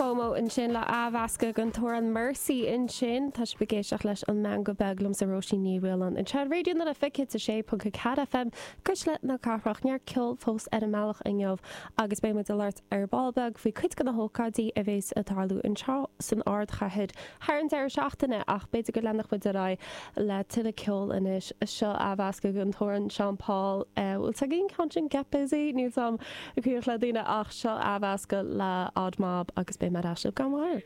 FOMO ansin le athmheascadh den t-amhrán Mercy ansin. Tá sibh ag éisteacht leis An Meangadh Beag liomsa Róisín Ní Mhaoláin anseo ar Raidió na Life 106.4 FM, Cuisle na Cathrach. Neart ceoil fós ar an mbealach inniu agus beidh muid ag labhairt ar ball beag faoi cuid de na hócáidí a bhéas ag tarlú anseo san ardchathair thar an deireadh seachtaine ach b'fhéidir go leanfadh muid ar aghaidh le tuilleadh ceoil anois. Seo athmheascadh den t-amhrán Sean Paul. Bhfuil 's agaibh an ceann sin Get Busy? Níl 's agam an cuimhneach le daoine ach seo athmheascadh le Odd Mob agus beidh mé ar ais libh gan mhoill.